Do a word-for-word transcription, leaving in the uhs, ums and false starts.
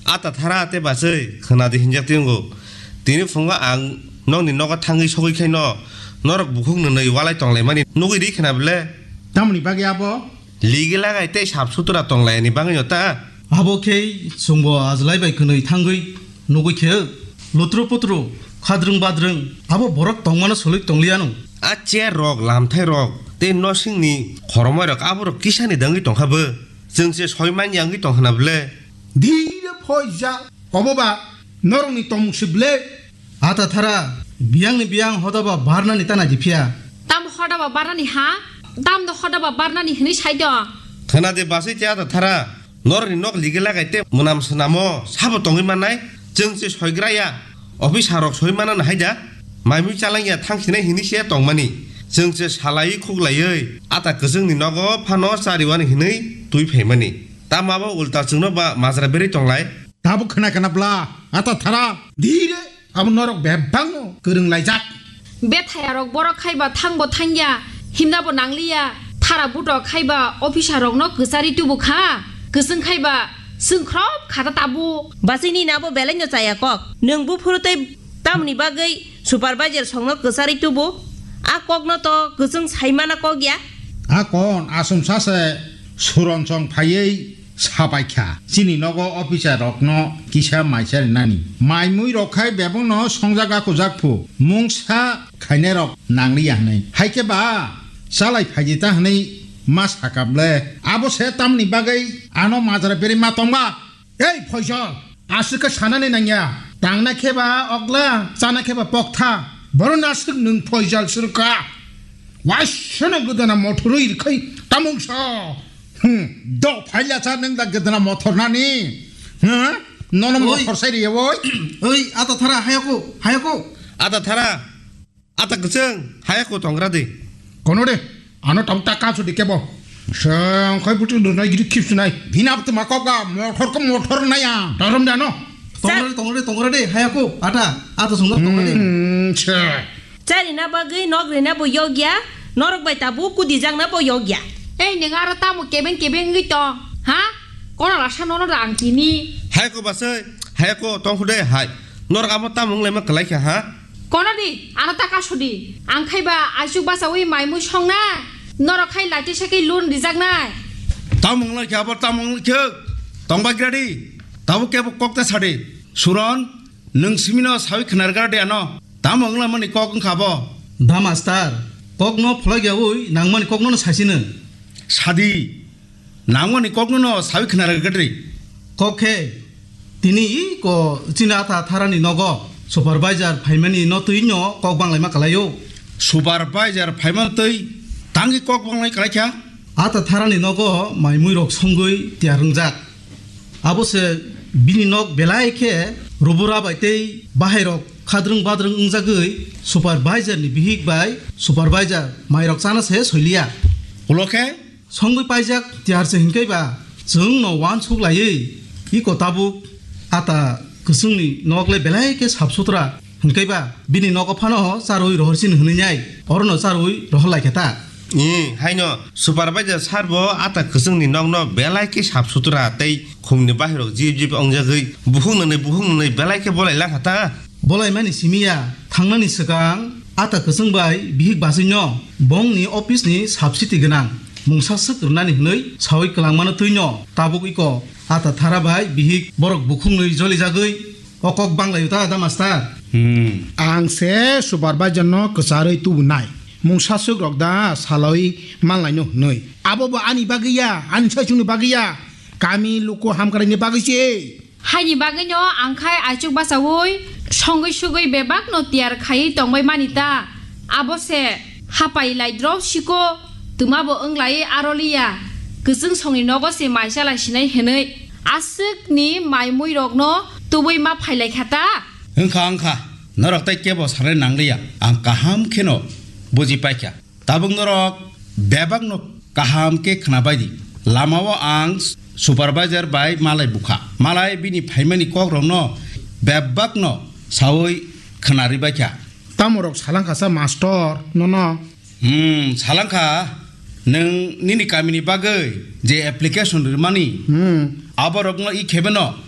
Ata thara tei bachwi khwnadi hinjak tongo. Tini phungo ang nokni nogo thangwi sogwi khaino norok bukhuk nwnwi walai tonglaimani nugwi ri khna bwle? Tamoni bagwi abo? Ligi lagai tei sap sutra tonglaini bagwino ta? Abo khe chwngbo ajlai bai kwnwi thangwi nugwi khe lutru putru khadrwng badrwng abo borok tongmano solwi tongliyano. A chair rok, lamthai rok tei nosingni khoromoi rok aborok kisani dangwi tongkha bo. Chwng se soi manya wngwi tong khna bwle? Dhire phoija. Obo ba norokni tongmung se ble? Ata thara, biyangni biyang hodaba barnani ta naidi phiya. Tam hodaba barnani ha? Tam do hodaba barnani hwnwi sai do. Khna de basai te ata thara, norokni nok ligi lagai te mwnam swnamo sabo tongwi mannai? Chwng se soigra ya. Officer rok soi manana haida? Maimui chalangya thangsinai hinwi se tongmani. Chwng se salaiwi khuklaiwi ata kwchwngni nogo phano chariwani hinwi twi phaimani. Tamo abo ulta chwngno ba majra berwi tonglai? Tabuk khna khna bla, ata thara, dhire, abo norok bebakno kwrwng laijak. Bethayarok borok khai ba thangbo thangya, himnabo nangliya, thara buto khai ba officer rokno kwchari tubu kha, kwchwng khai ba chwngkhrop khata tabuk. Basini nabo belai no chaya kok, nwng buphuru tei tamoni bagwi supervisor songno kwchari tubu, a kokno to kwchwng saimana kok ya. A kon aswm sase Suron song phaiwi sapai kha, chini nogo officer rokno kisa maisa rinani. Mai mui rok khai bebakno songjak akujak phu, mungsa khainai rok nangliya hwnwi. Hai khe ba chalai phaidi ta hwnwi ma sakap le. Abo se tamni bagwi ano majra berwi ma tongba? Ei Phoijol, aswk khe sanani nangya. Tangna khe ba ogla, chana khe ba poktha. Boroni aswk nwng Phoijol swrwkha. Waisano gwdana mothorwi rwkhai tamungsa. Hmm, do phaila cha nwng da gwdana mothor nani. Hmm? Nono Oi. Mothor sai riya oi. Oi, ata thara, hayako, hayako. Ata thara, ata kwchwng, hayako tongra de. Kono de, ano tam ta kaso de kebo. Sengkhai butu dunai gidi khipsunai. Bina butu makoka, mothor ko mothor naya. Tarom dano. Tongra de, tongra de, tongra de, hayako, ata, ata songda tongra de. Hmm, cha. Charina bagwi nok rina bo yokya, norok bai tabuk kudijakna bo yokya. Ei, nwng aro tamo kebeng kebeng wngwi tong, ha? Kono rasa nono rang tini. Hai ko basai, hai ko tong khude hai. Norok amo tamo wnglaima kwlai kha, ha? Kono di, ano ta kaso di. Ang khai ba aichuk bachawi mai mui songna. Norok khai laiti sakhi lun rijaknai. Tamo wnglai kha, abo tamo wnglai kha. Tong bai gra di. Tabo kebo kok ta sadi. Suron, nwng simino sawi khnar gra di ano. Tamo wnglamani kok wngkha bo? Da master, kokno pholok yaui nangmani kokno no saisino. Sadi, nangmani kokno no sawi khna rwgwdri. Kok khe, tini iko chini ata tharani nogo supervisor phaimani no twi no kok banglaima kalaio. Supervisor phaimani twi tangwi kok banglai kalaikha? Ata tharani nogo mai mui rok songwi tiyar wngjak. Abo se bini nok belai khe rubura bai tei bahai rok khadrwng badrwng wngjagwi supervisor ni bihik bai supervisor mai rok chana se soiliya. Ulo khe? Songwi paijak tiyar se hinkai ba chwng no uansuk laiwi iko tabuk ata kwchwng ni nok le belai khe sap sutra. Hinkhe ba, bini nogo phano charwi rohor sini hwnwi nai, orono charwi rohor lai khe ta. Ee, haino supervisor sir bo ata kwchwngni nokno belai khe sap sutra tei khumni bahirok jip jip ongjagwi bukhuk nwnwi bukhuk nwnwi belai khe bolai lang kha ta. Bolai mani simi ya, thangnani swkang ata kwchwng bai bihik bachwino bongni office ni subsidy gwnang mungsa swk rwnani hwnwi sawi kwlangmano twino tabuk iko ata thara bai bihik borok bukhuk nwi jolijagwi O kok banglaio ta, da master? Hmm. Ang se supervisor no kwcharwi tubunai. Mungsa swk rok da saloi manlaino hwnwi. Abo bo ani bagwi ya, ani saichung ni bagwi ya. Kami luku hamkrai ni bagwi se. Haini bagwi no ang khai aichuk bachaui, songwi sugwi bebak no tiyar khaiwi tongbai mani ta. Abo se hapai lai drop siko, twma bo wng lai aro liya. Kwchwng songni nogo se mai chalai sinai hwnwi. Aswkni mai mui rokno tubui ma phailaikha ta? Wngkha, wngkha. Norok tei kebo sanai nangliya. Ang kaham kheno buji paikha. Tabuk norok bebakno kaham khe khwnabaidi. Lamao ang supervisor bai malai bukha. Malai bini phaimani kokrokno bebakno saui khwnaribaikha. Tamorok salangkha sa mastor nono? Hmm, salangkha, nwng nini kamini bagwi je application rwmani, hmm, aborokno i khebeno